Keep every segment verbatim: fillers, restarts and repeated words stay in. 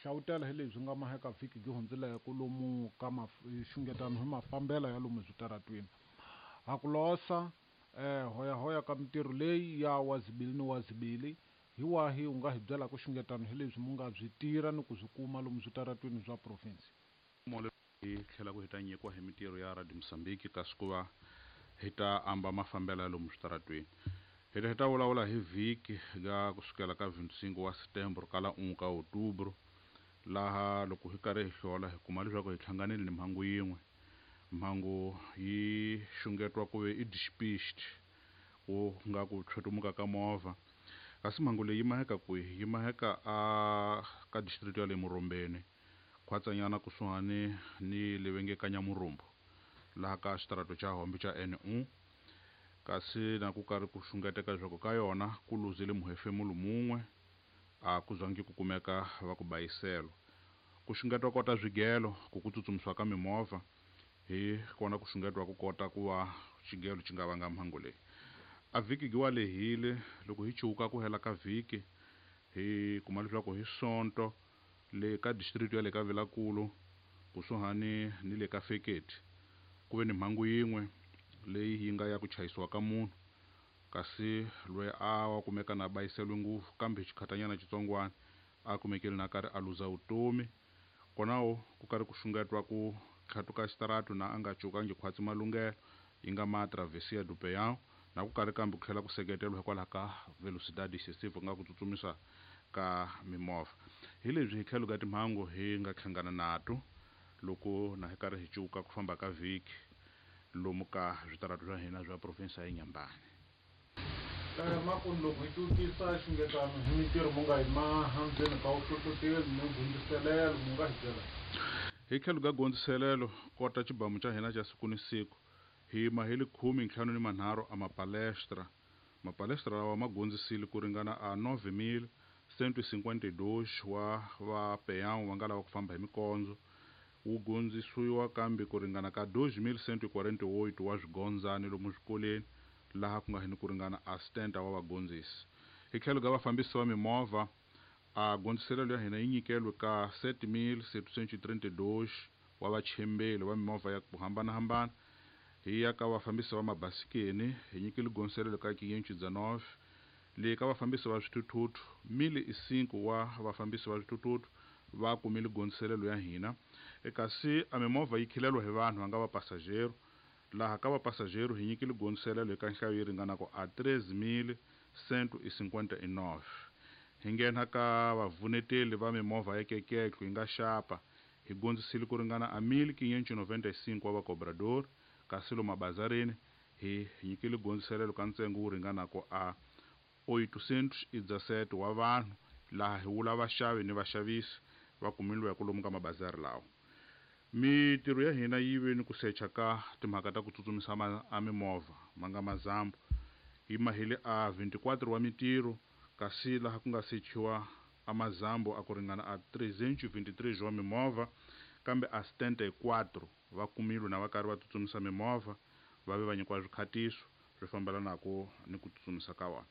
Xawutela hi leswi nga maheka vhiki gi hundzileko lomu ka xungetano hi mafambelo ya lomu switaratwini. Ha ku losa eh, hoyahoya ka mintirho leyi ya wazibili ni wazibili hi wahi u nga hi byelaka xungetano hi leswi mu nga byi tirha ni ku byi kuma lomu switaratwini swa province? Hi tlhela ku hi ta nyikiwa hi mintirho ya Radio Mozambique kasi ku va hi ta amba mafambelo ya lomu switaratweni. Hi ta hi ta vulavula hi vhiki ga kusukela ka vinte e cinco wa setembro kala um ka outubro, laha loko hi karhi hi hlola hi kuma leswaku hi hlanganile ni mhangu yin'we. Mhangu yi xungetiwa ku ve i despiste, ku nga ku tshwetumuka ka movha, kasi mhangu leyi yi maheka kwihi? Yi maheka a ka district ya le Murombeni, khwatsanyana kusuhani ni le va nge ka Nyamurumbu, laha ka xitarato xa Hombe xa N un. Kasi na ku karhi ku xungeteka leswaku ka yona ku luzile muhefemulo mun'we, a ku zangi ku kumeka va ku bayiselo. Ku xungetiwa kota swigelo ku ku tsutsumisiwa ka mimovha, hi kona ku xungetiwa ku kota ku va xigelo xi nga vanga mhangu leyi. A vhiki gi wa lehile, loko hi chuka ku hela ka vhiki hi kuma leswaku hi Sonto le ka district ya le ka Vilankulu, kusuhani ni le ka Feketi, ku ve ni mhangu yin'we leyi yi nga ya ku chayisiwa ka munhu, kasi loyi a wa kumeka na bayiseliwe ngopfu, kambe xikhatanyana xitsongwana a kumekile na karhi a luza vutomi. Konawo ku karhi ku xungetiwa ku tlhatuka xitaratu na a nga cukangi khwatsi malunghelo yi nga ma Travessia do Peão, na ku karhi kambe ku tlhela ku seketeriwa hikwalaho ka velocidade excessive, ku nga ku tsutsumisa ka mimovha. Hi leswi hi tlhelo ka timhangu hi nga hlangana nato loko na hi karhi hi cuka ku famba ka vhiki lomu ka switaratu swa hina swa province ya Inhambane. Eh, makunu loko hi twisisa xungetano hi mintirho mu nga hi maha ndzeni ka vuhlohloteli ni gondziselelo, mu nga hi byela? Hi tlhelo ka gondziselelo kota xibamu xa hina xa siku ni siku, hi mahele khume ntlhanu ni manharhu a mapalestra. Mapalestra lawa ma gondzisile ku ringana a nove mil cento e cinquenta e dois wa va peão va nga lava ku famba hi mikondzo. Wu gondzisiwa kambe ku ringana ka dois mil cento e quarenta e oito wa swigondzani lomu swikolweni, laha ku nga hini ku ringana a setenta wa vagondzisi. Hi tlhelo ka vafambisi va mimovha, a gondziselelo ya hina yi nyikeliwe ka sete mil setecentos e trinta e dois wa vachembeli va mimovha ya ku hambanahambana. Hi ya ka vafambisi va mabasikeni, hi nyikile gondziselelo ka quinhentos e dezenove. Le ka vafambisi va swithuthuthu, mil e cinco wa vafambisi va swithuthuthu va kumile gondziselelo ya hina. E kasi a mimovha yi khileliwa hi vanhu va nga va passageiro, laha ka va passageiro hi nyikile gondziselelo eka nhlayo yi ringanaka a treze mil cento e cinquenta e nove. Hi nghena ka vavuneteli va mimovha ya keketlo yi nga xapa, hi gondzisile ku ringana a mil quinhentos e noventa e cinco wa vacobrador. Kasi lomu mabazarini hi nyikile gondziselelo ka ntsengo wu ringanaka a oitocentos e dezessete wa vanhu, laha hi vula vaxavi ni vaxavisi va kumiliweke lomu ka mabazari lawa. Mitirho ya hina yi ve ni ku secha ka timhaka ta ku tsutsumisa ma a mimovha ma nga mazambu, yi mahile a vinte e quatro wa mitirho, kasi laha ku nga sechiwa a mazambu a ku ringana a trezentos e vinte e três wa mimovha, kambe a setenta e quatro va kumilwe na va karhi va tsutsumisa mimovha, va ve va nyikiwa swikhatiso swi fambelanaka ni ku tsutsumisa ka vona.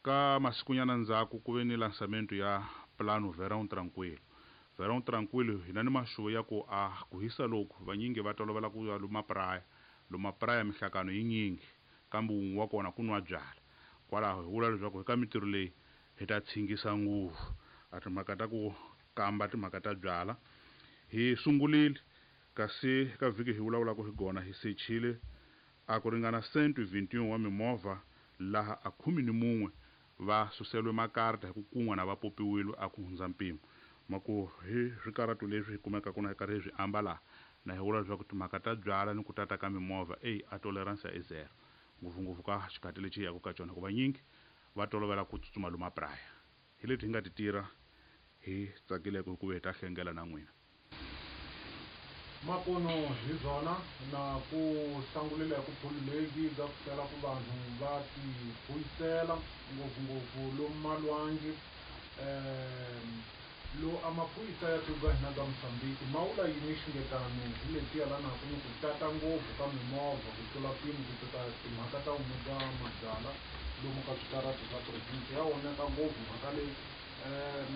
Ka masikunyana ndzhaku ku ve ni lançamento ya plano Verão Tranquilo. Verão Tranquilo, hina ni maxuvo ya ku a ku hisa loku vanyingi va tolovela ku ya luma praia. Luma praia mihlakano yi nyingi, kambe wun'we wa kona ku nwa byala. Kwalaho hi vula leswaku hi ka mitirho leyi hi ta tshingisa ngopfu a timhaka ta ku kamba timhaka ta byala. Hi sungulile, kasi ka vhiki hi vulavulaka hi gona hi sechile a ku ringana cento e vinte e um wa mimovha, laha a khume ni mun'we va suseliwe makarata hi ku kun'wa na va popiwile a ku hundza mpimo. Maku hi swikaratu leswi hi kumekaka na hi karhi hi swi amba laha, na hi vula leswaku timhaka ta byala ni ku tata ka mimovha eyi a tolerance i zero, ngopfungopfu ka xikhathi lexi hi yaka ka xona, hikuva nyingi va tolovela ku tsutsuma lomu mapraya. Hi leti hi nga ti tirha, hi tsakileke hikuva hi ta hlengela na n'wina. Makuno hi byona na ku hlangulile ku phulu leyi ga ku tela ku vanhu va ti buyisela ngopfungopfu lomu malwangi. um lo a maphorisa ya tiko hina ka Mozambique ma vula yini xungetano hi leti yelanaka ni ku tata ngopfu ka mimovha ku tlula mpimo, ku tata timhaka ta wun'we mabyala lomu ka switarati swa province? Ya oneka ngopfu mhaka leyi. um